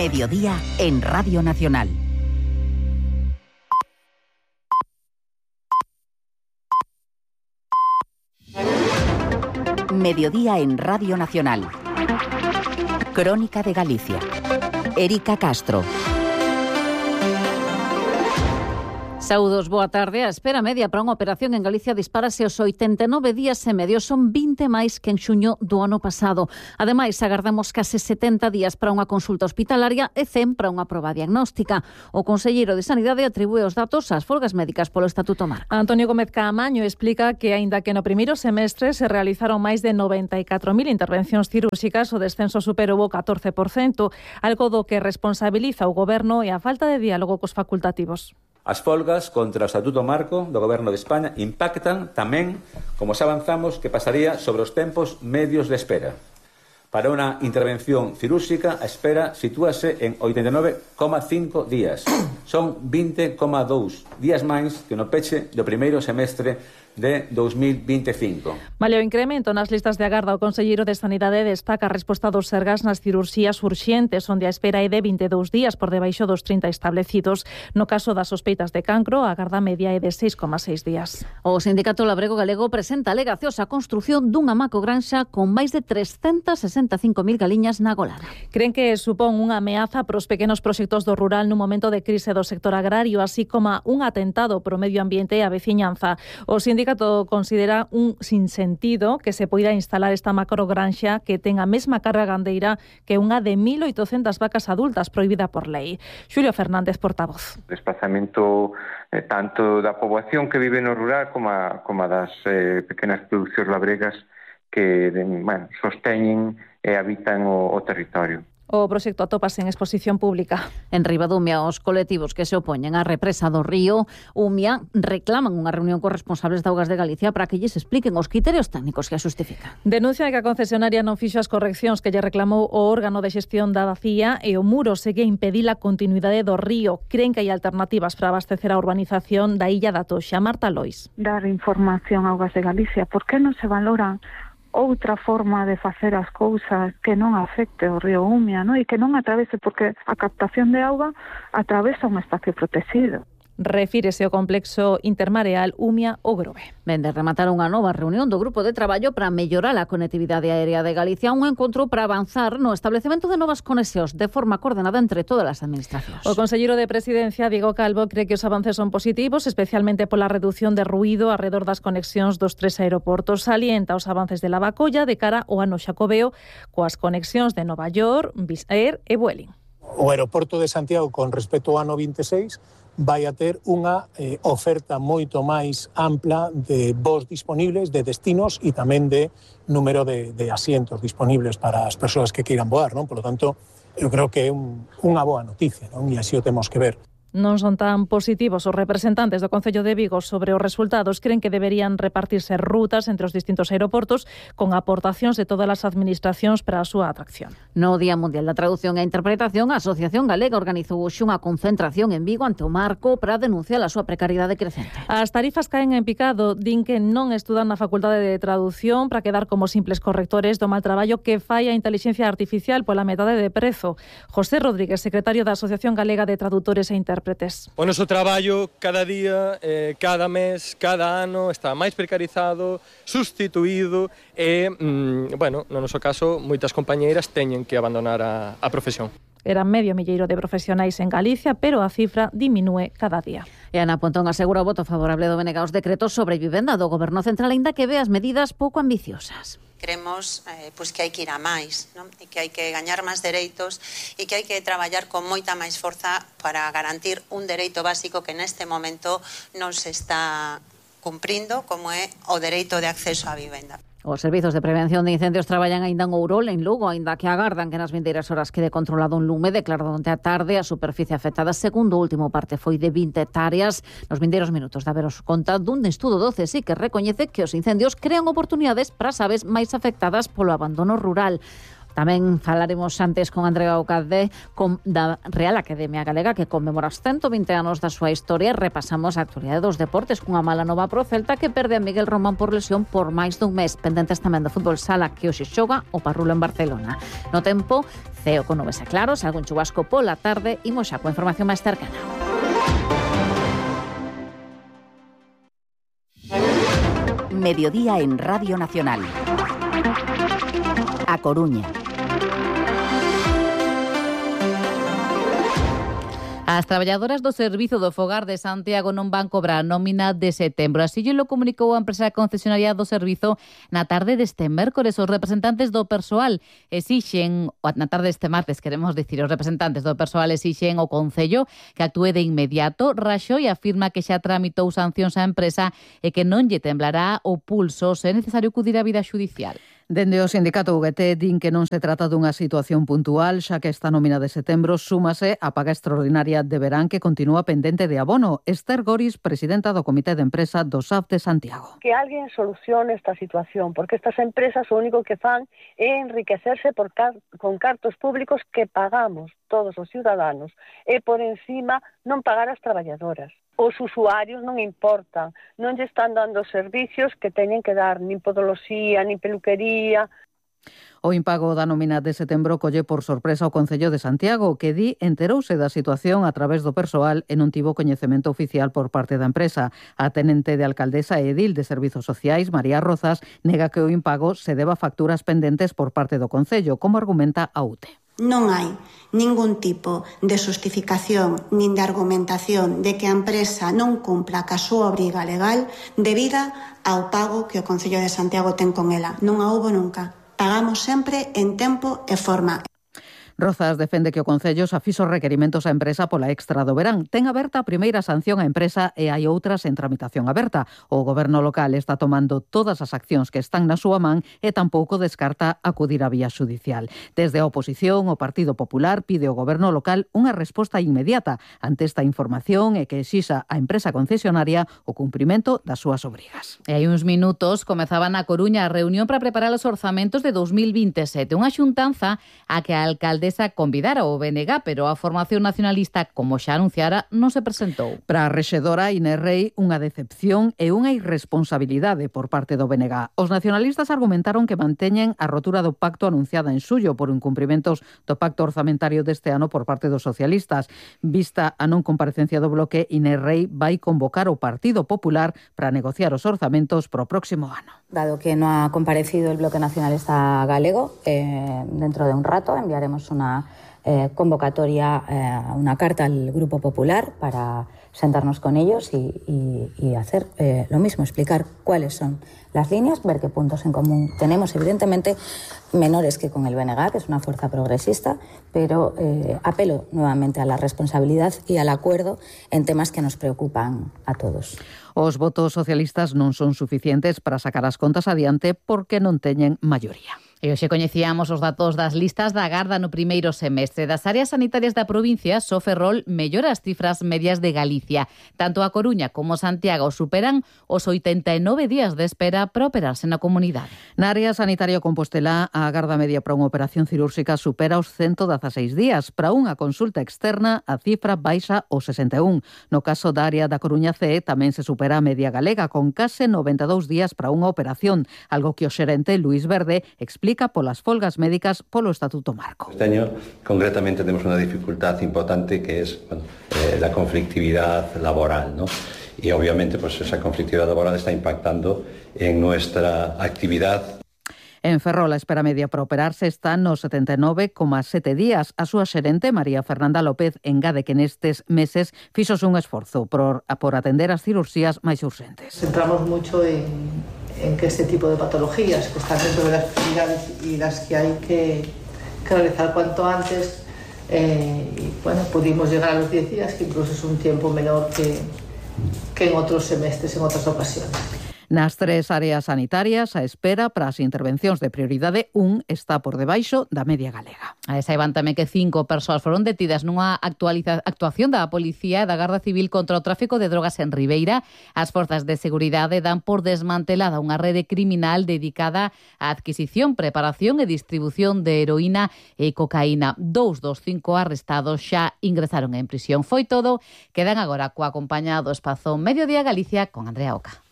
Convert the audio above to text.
Mediodía en Radio Nacional. Mediodía en Radio Nacional. Crónica de Galicia. Erika Castro. Saúdos, boa tarde. A espera media para unha operación en Galicia dispárase aos 89 días e medio. Son 20 máis que en xuño do ano pasado. Ademais, agardamos case 70 días para unha consulta hospitalaria e 100 para unha proba diagnóstica. O conselleiro de Sanidade atribúe os datos ás folgas médicas polo Estatuto Marco. Antonio Gómez Caamaño explica que, aínda que no primeiro semestre se realizaron máis de 94.000 intervencións cirúrxicas, o descenso superou o 14%, algo do que responsabiliza o Goberno e a falta de diálogo cos facultativos. As folgas contra o Estatuto Marco do Goberno de España impactan tamén, como xa avanzamos, que pasaría sobre os tempos medios de espera. Para unha intervención cirúrxica, a espera sitúase en 89,5 días. Son 20,2 días máis que no peche do primeiro semestre de 2025. Malia o incremento nas listas de agarda, o conselleiro de Sanidade destaca a resposta dos sergas nas cirurxías urxentes, onde a espera é de 22 días por debaixo dos 30 establecidos. No caso das sospeitas de cancro, a agarda media é de 6,6 días. O Sindicato Labrego Galego presenta alegacións á construción dunha macogranxa con máis de 365.000 galiñas na Golana. Creen que supón unha ameaza para os pequenos proxectos do rural nun momento de crise do sector agrario, así como un atentado pro medio ambiente e a veciñanza. O sindicato considera un sinsentido que se poida instalar esta macrogranxa que ten a mesma carga gandeira que unha de 1.800 vacas adultas prohibida por lei. Xulio Fernández, portavoz. O desplazamento tanto da poboación que vive no rural como das pequenas producións labregas que sosteñen e habitan o territorio. O proxecto atópase en exposición pública. En Ribadumia, os colectivos que se opoñen á represa do río Umia reclaman unha reunión cos responsables de Augas de Galicia para que lles expliquen os criterios técnicos que a xustifican. Denuncian que a concesionaria non fixo as correccións que lle reclamou o órgano de xestión da vacía e o muro segue a impedir a continuidade do río. Creen que hai alternativas para abastecer a urbanización da Illa da Toxa. Marta Lois. Dar información a Augas de Galicia. Por que non se valoran outra forma de facer as cousas que non afecte o río Umia, e que non atravese, porque a captación de auga atravesa un espacio protegido. Refírese ao complexo intermareal Umia-O-Grove. Vende rematar unha nova reunión do grupo de traballo para mellorar a conectividade aérea de Galicia, un encontro para avanzar no establecemento de novas conexións de forma coordenada entre todas as administracións. O conselleiro de Presidencia, Diego Calvo, cree que os avances son positivos, especialmente pola reducción de ruído arredor das conexións dos 3 aeroportos. Salienta os avances de Lavacolla de cara ao ano xacobeo coas conexións de Nova York, Wizz Air e Vueling. O aeroporto de Santiago, con respecto ao ano 26, vai a ter unha oferta moito máis ampla de voos disponibles, de destinos e tamén de número de asientos disponibles para as persoas que queiran voar, non? Por lo tanto, eu creo que é unha boa noticia, non? E así o temos que ver. Non son tan positivos os representantes do Concello de Vigo sobre os resultados. Creen que deberían repartirse rutas entre os distintos aeroportos con aportacións de todas as administracións para a súa atracción. No Día Mundial da Traducción e Interpretación, a Asociación Galega organizou hoxe unha concentración en Vigo ante o Marco para denunciar a súa precariedade crecente. As tarifas caen en picado. Din que non estudan na Facultade de Traducción para quedar como simples correctores do mal traballo que fai a inteligencia artificial pola metade de prezo. José Rodríguez, secretario da Asociación Galega de Traductores e Intérpretes. O noso traballo cada día, cada mes, cada ano está máis precarizado, sustituído e, no noso caso, moitas compañeiras teñen que abandonar a profesión. Eran medio milleiro de profesionais en Galicia, pero a cifra diminúe cada día. E Ana Pontón asegura o voto favorable do BNG aos decretos sobre vivenda do Goberno Central, aínda que ve as medidas pouco ambiciosas. Creemos que hai que ir a máis, non? E que hai que gañar máis dereitos e que hai que traballar con moita máis forza para garantir un dereito básico que neste momento non se está cumprindo, como é o dereito de acceso á vivenda. Os servizos de prevención de incendios traballan aínda en Ourol, en Lugo, aínda que agardan que nas vindeiras horas quede controlado un lume declarado onte a tarde. A superficie afectada, segundo o último parte, foi de 20 hectáreas. Nos vindeiros minutos de haberos conta dun estudo do CSIC que recoñece que os incendios crean oportunidades para as aves máis afectadas polo abandono rural. Tamén falaremos antes con Andrea Ocade da Real Academia Galega, que conmemora os 120 anos da súa historia. Repasamos a actualidade dos deportes cunha mala nova pro Celta, que perde a Miguel Román por lesión por máis dun mes. Pendentes tamén do fútbol sala, que hoxe xoga o Parrulo en Barcelona. No tempo, ceo con nubes e claros, algún chubasco pola tarde. Imos xa coa información máis cercana. Mediodía en Radio Nacional. A Coruña. As traballadoras do Servizo do Fogar de Santiago non van cobrar a nómina de setembro. Así lo comunicou a empresa concesionaria do servizo na tarde deste mércores. Os representantes do persoal exixen, na tarde deste martes, queremos dicir, os representantes do persoal exixen ao Concello que actúe de inmediato. Raxoi afirma que xa tramitou sancións á empresa e que non lle temblará o pulso se é necesario acudir á vida xudicial. Dende o sindicato UGT din que non se trata dunha situación puntual, xa que esta nómina de setembro súmase á paga extraordinaria de verán que continúa pendente de abono. Esther Goris, presidenta do Comité de Empresa do SAF de Santiago. Que alguén solucione esta situación, porque estas empresas o único que fan é enriquecerse con cartos públicos que pagamos todos os ciudadanos e por encima non pagar as traballadoras. Os usuarios non importan, non lle están dando servicios que teñen que dar, nin podoloxía, nin peluquería. O impago da nómina de setembro colle por sorpresa o Concello de Santiago, que enterouse da situación a través do persoal e non tivo coñecemento oficial por parte da empresa. A tenente de alcaldesa e edil de Servizos Sociais, María Rozas, nega que o impago se deba a facturas pendentes por parte do Concello, como argumenta a UTE. Non hai ningún tipo de xustificación nin de argumentación de que a empresa non cumpla ca súa obriga legal debida ao pago que o Concello de Santiago ten con ela. Non a houbo nunca. Pagamos sempre en tempo e forma. Rozas defende que o Concello xa fixo requerimentos á empresa pola extra do verán. Ten aberta a primeira sanción á empresa e hai outras en tramitación aberta. O goberno local está tomando todas as accións que están na súa man e tampouco descarta acudir á vía xudicial. Desde a oposición, o Partido Popular pide ao goberno local unha resposta inmediata ante esta información e que exixa á empresa concesionaria o cumprimento das súas obrigas. E hai uns minutos comezaba na Coruña a reunión para preparar os orzamentos de 2027. Unha xuntanza a que a alcaldesa convidara o BNG, pero a formación nacionalista, como xa anunciara, non se presentou. Para a rexedora Inés Rei, unha decepción e unha irresponsabilidade por parte do BNG. Os nacionalistas argumentaron que manteñen a rotura do pacto anunciada en suyo por incumprimentos do pacto orzamentario deste ano por parte dos socialistas. Vista a non comparecencia do bloque, Inés Rei vai convocar o Partido Popular para negociar os orzamentos pro próximo ano. Dado que no ha comparecido el Bloque Nacionalista Galego, dentro de un rato enviaremos una convocatoria, una carta al Grupo Popular para sentarnos con ellos y hacer lo mismo, explicar cuáles son las líneas, ver qué puntos en común tenemos, evidentemente menores que con el BNG, que es una fuerza progresista, pero apelo nuevamente a la responsabilidad y al acuerdo en temas que nos preocupan a todos. Os votos socialistas non son suficientes para sacar as contas adiante porque non teñen maioría. E hoxe coñecíamos os datos das listas da Garda no primeiro semestre. Das áreas sanitarias da provincia, só Ferrol mellora as cifras medias de Galicia. Tanto a Coruña como Santiago superan os 89 días de espera para operarse na comunidade. Na área sanitaria Compostelá, a Garda media para unha operación cirúrxica supera os 116 días. Para unha consulta externa, a cifra baixa os 61. No caso da área da Coruña CE, tamén se supera a media galega, con case 92 días para unha operación, algo que o xerente Luis Verde explica polas folgas médicas polo Estatuto Marco. Este año, concretamente, tenemos una dificultad importante que es la conflictividad laboral, ¿no? Y obviamente pues esa conflictividad laboral está impactando en nuestra actividad. En Ferrol, a espera media para operarse está nos 79,7 días. A súa xerente, María Fernanda López, engade que nestes meses fixose un esforzo por atender as cirurxías máis urxentes. Centramos mucho en que este tipo de patologías que están dentro de las prioridades y las que hay que realizar cuanto antes, y bueno, pudimos llegar a los 10 días, que incluso es un tiempo menor que en otros semestres, en otras ocasiones. Nas 3 áreas sanitarias, a espera para as intervencións de prioridade 1 está por debaixo da media galega. Saiban tamén que 5 persoas foron detidas nunha actuación da Policía e da Garda Civil contra o tráfico de drogas en Ribeira. As forzas de seguridade dan por desmantelada unha rede criminal dedicada á adquisición, preparación e distribución de heroína e cocaína. 2 dos 5 arrestados xa ingresaron en prisión. Foi todo. Quedan agora co acompañado espazo Mediodía Galicia con Andrea Oca.